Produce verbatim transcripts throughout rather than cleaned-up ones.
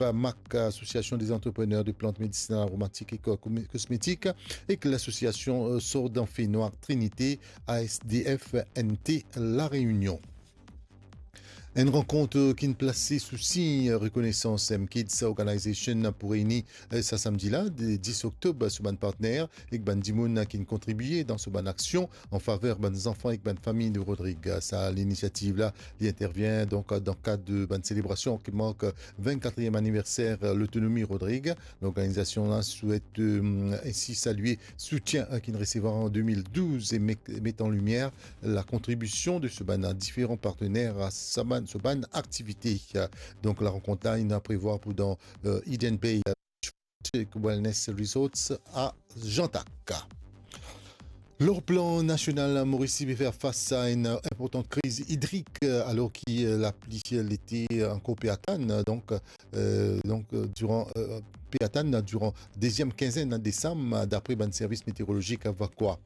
MAC, Association des Entrepreneurs de Plantes Médicinales Aromatiques et Co-, Cosmétiques, ek lasosiasion, euh, Sordan Fenoir Trinité, A S D F N T La Réunion. Enn rankont, euh, ki'nn plase sou sign rekonesans MKids Organization pou reyni, euh, sa samdi la, de dis oktob, so bann partner ek bann dimoun ki'nn kontribie dan so bann aksion an faver bann zanfan ek bann fami de Rodrig. Sa linisiativ la, li intervien donk dan kad de bann selebrasion ki mark vennkatriem aniverser Lotonomi Rodrig. Lorganizasion la swet, euh, ensi salie soutien, euh, ki'nn resevwar an de mil douz e met, met an limier lakontribision de so bann diferan partner a sa bann, so bann aktivite. Donk, larenkont la, inn prevwar pou dan, euh, Eden Bay, euh, Wellness Resorts a Jantak. Lor plan nasional, Moris pe fer fas a enn inportan kriz idrik, alor ki lapli lete ankor pe atann, donk, euh, donk, euh, diran, euh, pe atann diran deziem kinzenn desam, dapre bann servis meteorolozik Vacoa.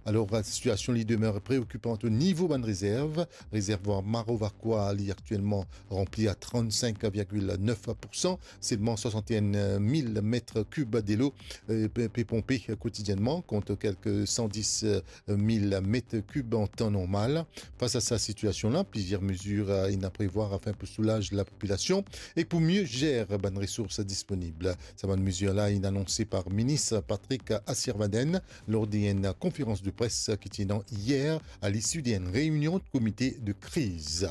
Alor, sitiasion li demer preokipan o nivo bann rezerv. Rezervwar Maro Vacoa, li aktielman ranpli a trannsenk virgil nef poursan. Selman swasant-e-enn mil met kib delo, euh, pe, pe ponpe kotidienman, kont kelke san dis mil met kib an tan normal. Fas a sa sitiasion la, plizier mezir, euh, inn prevwar afin pou soulaz lapopilasion ek pou mie zer bann resours disponib. Sa bann mezir la inn anonse par minis Patrick Assier-Vadden lor de enn konferans de pres ki ti ena yer a lisi de enn reinion komite de kriz.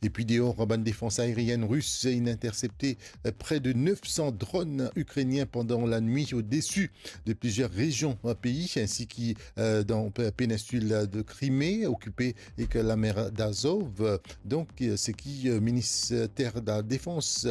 Epi deor, bann defans aerienn ris inn intersepte, euh, pre de nef san dronn ikrenien pandan lanwit odesi de plizier rezion, euh, pei, ensi ki, euh, dan pe-, peninsil de Krime, okipe ek lamer d'Azov. Donk, euh, seki, euh, minister ladefans,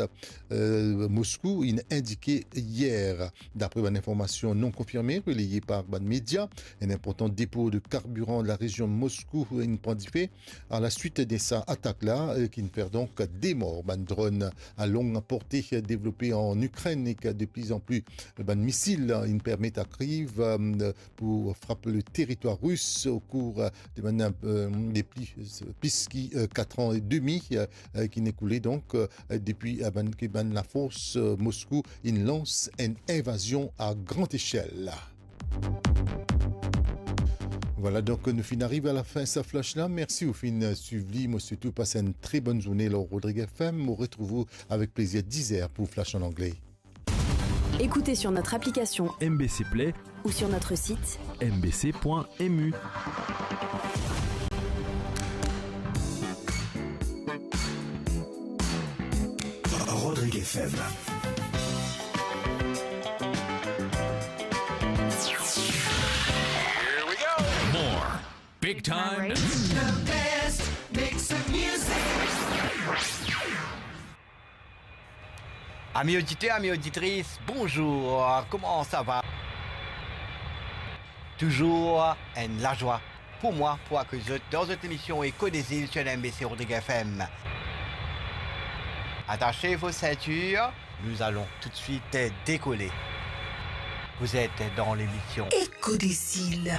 euh, Moskou inn indike yer. Dapre bann informasion non konfirme relaye par bann media, enn inportan depo de karbiran de larezion Moskou inn pran dife a laswit de sa atak la, euh, ki'nn fer donk de mor. Bann dronn a long porte devlope an Ikrenn ek de pli an pli bann misil inn permet ariv, euh, pou frap leteritwar ris okour, euh, de bann, euh, de pli, plis ki, euh, kat an edmi, euh, ki'nn ekoule donk, euh, depi, euh, bann, ki bann lafors, euh, Moskou inn lans enn invazion a gran echel. Vwala, donk nou finn ariv a lafin sa flash la. Mersi ou finn swiv li. Mo swet ou pas enn tre bonn zourne lor Rodrig F M. Mo retrouv ou avek plezir diz er pou flash an angle. Écoutez sur notre application M B C Play ou sur notre site M B C point M U. Rodrig F M. More big time. The best mix of music. Ami oditer, ami oditris, bonzour, kouma sa va? Touzour enn lazwa pou mwa pou akey zot dan zot lemision Eko de Zil sur M B C Rodrig F M. Attachez vos ceintures, nous allons tout de suite décoller. Vous êtes dans l'émission Eko de Zil.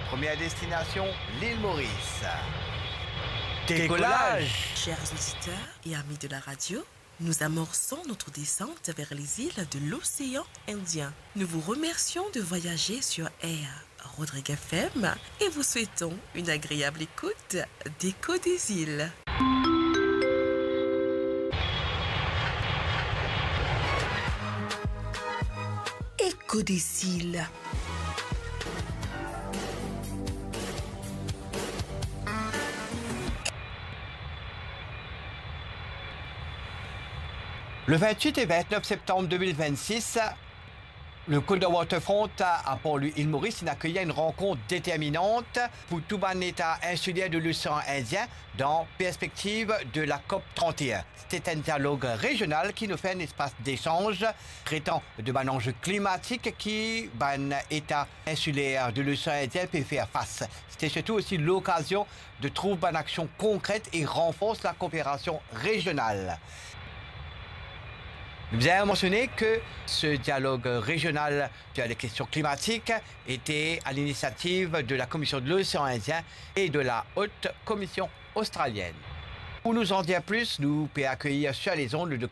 Première destination, l'île Maurice. Décollage. Chers auditeurs et amis de la radio, nous amorçons notre descente vers les îles de l'océan Indien. Nous vous remercions de voyager sur Air Rodrig F M et vous souhaitons une agréable écoute d'Écho des îles. Écho des îles. Le vingt-huit et vingt-neuf septembre deux mille vingt-six, le Côte de Waterfront à Port-Louis, île Maurice, inn akeyi enn rankont determinant pou tou bann eta insiler de l'océan Indien dan perspektiv de la COP trente et un. C'était un dialogue régional qui nous fait un espace d'échange traitant de bann anze klimatik ki bann eta insiler de l'océan Indien pe fer fas. C'était surtout aussi l'occasion de trouver bann aksion konkret et renforcer la coopération régionale. Nous avons mentionné que ce dialogue régional sur les questions climatiques était à l'initiative de la Commission de l'océan Indien et de la Haute Commission australienne. Pou nou andir plis, nou pe akeyir sir lezond le Dr